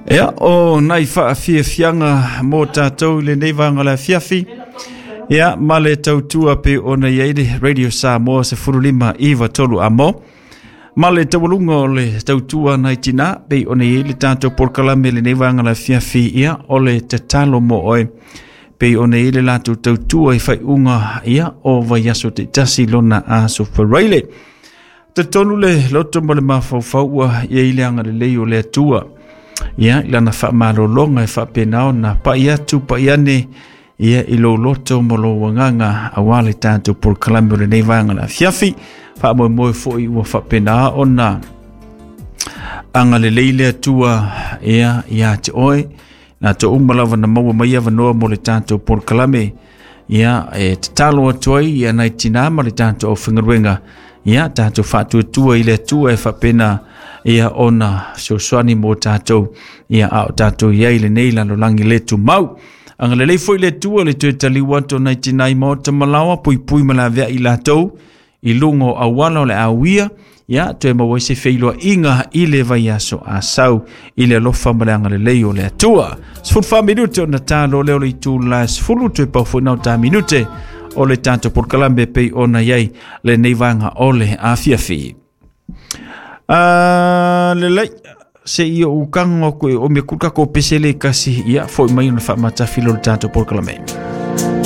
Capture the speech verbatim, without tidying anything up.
Ia, o nai faafiafiaga mo tatou i lenei vaega o le afiafi. Ia, ma le tautua pe ona i ai le Radio Samoa sefulu lima iva tolu amo. Ma le taualuga o le tautua nai tina pe ona i ai le tatou polokalame lenei vaega o le afiafi. Ia, o le tatalo mo oe pe ona i le latou tautua i faiuga ia o vaiaso taitasi lona aso Faraile. Talitonu le loto ma le mafaufau ua i ai le agalelei o le Atua. Ia, i lana faamalologa e faapena ona pai atu pai ane ia i lou loto ma lou agaga aua le tatou polokalame o lenei vaega o le afiafi. Faamoemoe foi ua faapena ona agalelei le Atua ia ia te oe. Na to uma lava na maua mai avanoa mo le tatou polokalame. Ia, e tatalo atu ai ia nai tina ma le tatou aufaigaluega. Ia, tatou faatuatua i le Atua e faapena ia ona fesoasoani mo tatou ia a o tatou i ai lenei lalolagi le tumau. Agalelei foi le Atua le toe taliu atu o nai tina i maota malaoa, puipui ma laveai i latou i luga o auala o le auia, ia toe maua ai se feiloaiga i le vaiaso asau i le alofa ma le agalelei o le Atua. Sefulu fa minute ona talo lea o le itula sefulu, toe pau foi nao ta minute o le tatou polokalame pei ona i ai lenei vaega o le afiafi. Uh, lelei se i ou kago aku e o me kul kako pese le kasi ia foi mai ona faamatafilo le tatou polokalame.